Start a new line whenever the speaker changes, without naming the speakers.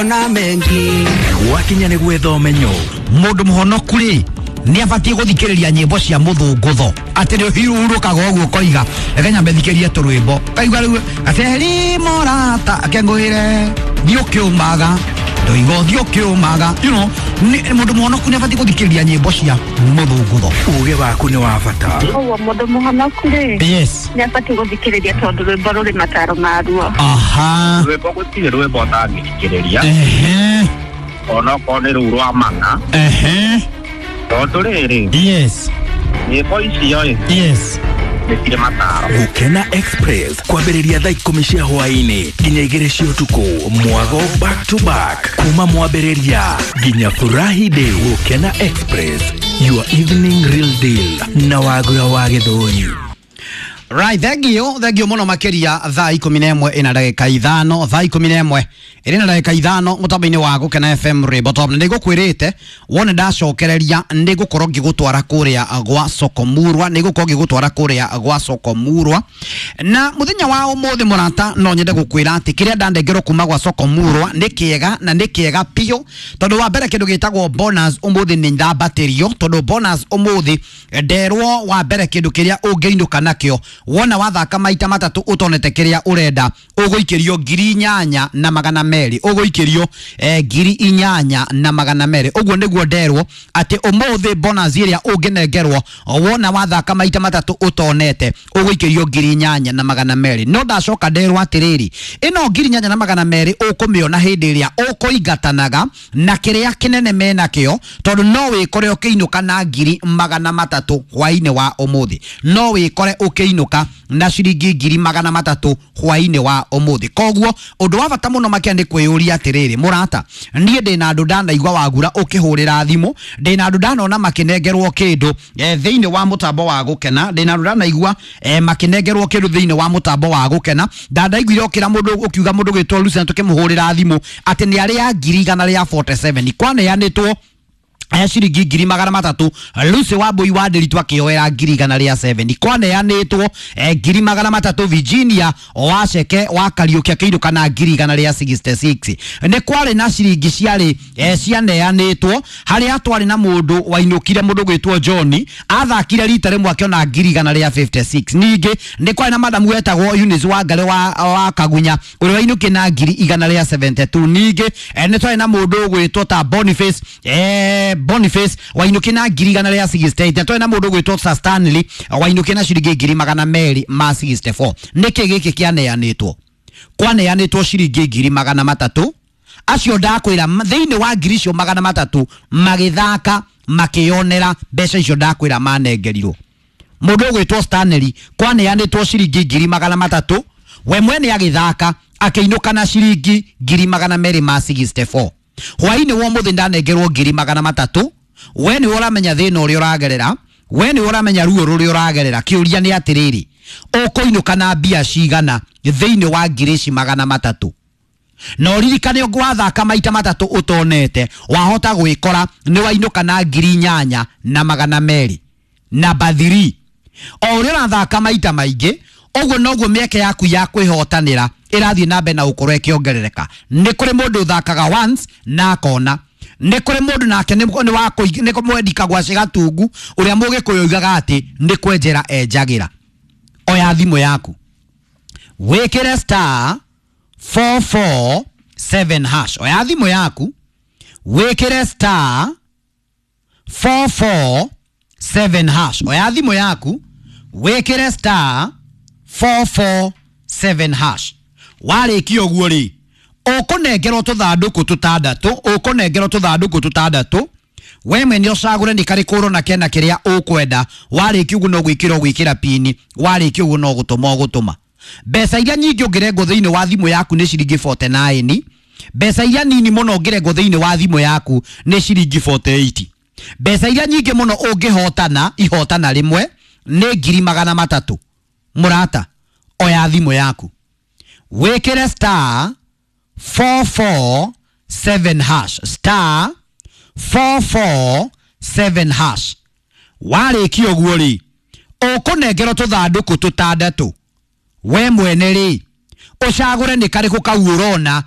Niliona mengi.
Gwakinya nĩ gwetha ũmenyo.
Mũndũ mũhonoku rĩ, nĩ abatiĩ gũthikĩrĩria nyĩmbo cia mũthũngũtho, atĩ nĩ ũhurũkaga ũguo ũkoiga, reke nyambe thikĩrie tũrwĩmbo, kaigua rĩu ateri morata akengũĩre thiĩ ũkĩũmaga ndoiga ũthiĩ ũkĩũmaga. Mũndũ mũhonoku nĩ abatiĩ gũthikĩrĩria nyĩmbo cia mũthũngũtho.
Ũgĩ waku nĩ wa bata.
Ũguo mũndũ mũhonoku rĩ,
yes,
nĩ abatiĩ gũthikĩrĩria tondũ rwĩmbo rũrĩ mataro maruo.
Aha.
Rwĩmbo, gũtirĩ rwĩmbo ũtangĩthikĩrĩria, onokorwo nĩ rũu rwa mana, tondũ rĩrĩ, nyĩmbo icio ĩ, nĩ cirĩ mataro.
Gũkena Express kwambĩrĩria thaa 10 cia hwaĩ-inĩ nginya 2 cia ũtukũ, mwago back to back kuma mwambĩrĩria nginya furahi day. Gũkena Express, your evening real deal na Wagura wa Gĩthũri.
Right, thank you, thank you muno makiria. Thaa 11 ina ndagĩka 5, thaa 11 ĩrĩ na ndagĩka 5, mũtambo-inĩ wa Gũkena FM Rwĩmbo Top. Na nĩngũkwĩrĩte wone ndacokereria nĩngũkorwo ngĩgũtwara kũrĩa gwa Sokomurwa, nĩngũkorwo ngĩgũtwara kũrĩa gwa Sokomurwa. Na mũthenya wa ũmũthĩ, mũrata, no nyende gũkwĩra atĩ kĩrĩa ndanengerwo kuma gwa Sokomurwa nĩ kĩega na nĩ kĩega biũ, tondũ wa mbere kĩndũ gĩtagwo bonus ũmũthĩ nĩ ndambatĩrio, tondũ bonus ũmũthĩ nderwo wa mbere kĩndũ kĩrĩa ũngĩinũka nakĩo wona wathaka maita matatũ ũtonete kĩrĩa ũrenda, ũgũikĩrio 8200, ũgũikĩrio 8200. Ũguo nĩguo nderwo atĩ ũmũthĩ bonus ĩrĩa ũngĩnengerwo wona wathaka maita matatũ ũtonete, ũgũikĩrio 8200. No ndacoka nderwo atĩrĩrĩ, ĩno 8200 ũkũmĩona hĩndĩ ĩrĩa ũkũingatanaga na kĩrĩa kĩnene menakĩo, tondũ no wĩkore ũkĩinũka na 300,000 hwainĩ wa ũmũthĩ, no wĩkore ũkĩinũka na ciringi 300,000 hwainĩ wa ũmũthĩ. Koguo ũndũ wa bata mũno makĩria nĩ kwĩyũria atĩrĩrĩ, mũrata, niĩ ndĩna andũ ndanaigua Wagura ũkĩhũrĩra thimũ, ndĩna andũ ndanona makĩnengerwo kĩndũ thĩinĩ wa mũtambo wa Gũkena, ndĩna andũ ndanaigua makĩnengerwo kĩndũ thĩinĩ wa mũtambo wa Gũkena. Ndandaiguire ũkĩra mũndũ, ũkiuga mũndũ gwĩtwo Lucy tũkĩmũhũrĩra thimũ atĩ nĩ arĩa 147,000 kwaneanĩtwo aya ciringi 300,000. Lucy wa Mbui wa Ndĩritũ akĩoera 107,000, kwaneanĩtwo 300,000. Virginia Waceke wa Kariũki akĩinũka na 166,000. Nĩ kwarĩ na ciringi ciarĩ cianeanĩtwo harĩa twarĩ na mũndũ wainũkire, mũndũ gwĩtwo John, athakire rita rĩmwe akĩona 156,000. Ningĩ nĩ kwarĩ na madamu wetagwo Eunice Wangari wa Kagunya ũrĩa wainũkire na 172,000. Ningĩ nĩ twarĩ na mũndũ ũgwĩtwo ta Boniface wainũkire na 168,000, na twarĩ na mũndũ ũgwĩtwo Sir Stanley wainũkire na ciringi 264,000. Nĩkĩ gĩkĩ kĩaneanĩtwo? Kwaneanĩtwo ciringi 300,000. Acio ndakwĩra thĩinĩ wa ngiri icio 300 magĩthaka makĩonera mbeca icio ndakwĩra manengerirwo. Mũndũ ũgwĩtwo Stanley kwaneanĩtwo ciringi 300,000, we mwene agĩthaka akĩinũka na ciringi 264,000. Hwainĩ wa ũmũthĩ ndanengerwo 300,000. We nĩwe ũramenya thĩna ũrĩa ũragerera, we nĩwe ũramenya ruo rũrĩa ũragerera. Kĩũria nĩ atĩrĩrĩ, ũkũinũka na mbia cigana thĩinĩ wa ngiri ici 300? Na ũririkane ũngĩ wathaka maita matatũ ũtonete, wahota gwĩkora nĩ wainũka na 8200. Namba 3, o ũrĩa ũrathaka maita maingĩ ũguo noguo mĩeke yaku ya kwĩhotanĩra ĩrathiĩ na mbere na gũkorwo ĩkĩongerereka. Nĩ kũrĩ mũndũ ũthakaga once na akona, nĩ kũrĩ mũndũ nake nĩ mwendi kagwaci gatungu ũrĩa mũgĩkũyũ oigaga atĩ nĩ kwenjera enjagĩra. Oya thimũ yaku, wĩkĩre *447#. Oya thimũ yaku, wĩkĩre *447#. Oya thimũ yaku, wĩkĩre *447#. Warĩkia ũguo rĩ, ũkũnengerwo tũthandũkũ tũtandatũ, ũkũnengerwo tũthandũkũ tũtandatũ. We mwene ũcagũre nĩ karĩkũ ũrona kena kĩrĩa ũkwenda. Warĩkia ũguo no gwĩkĩra ũgwĩkĩra pini, warĩkia ũguo no gũtũma ũgũtũma. Mbeca iria nyingĩ ũngĩrengwo thĩinĩ wa thimũ yaku nĩ ciringi 49. Mbeca iria nini mũno ũngĩrengwo thĩinĩ wa thimũ yaku nĩ ciringi 48. Mbeca iria nyingĩ mũno ũngĩhotana ihotana rĩmwe nĩ 300,000. Mũrata, oya thimũ yaku, wĩkĩre *447#, *447#. Warĩkia ũguo rĩ, ũkũnengerwo tũthandũkũ tũtandatũ. We mwene rĩ, ũcagũre nĩ karĩkũ kau ũrona.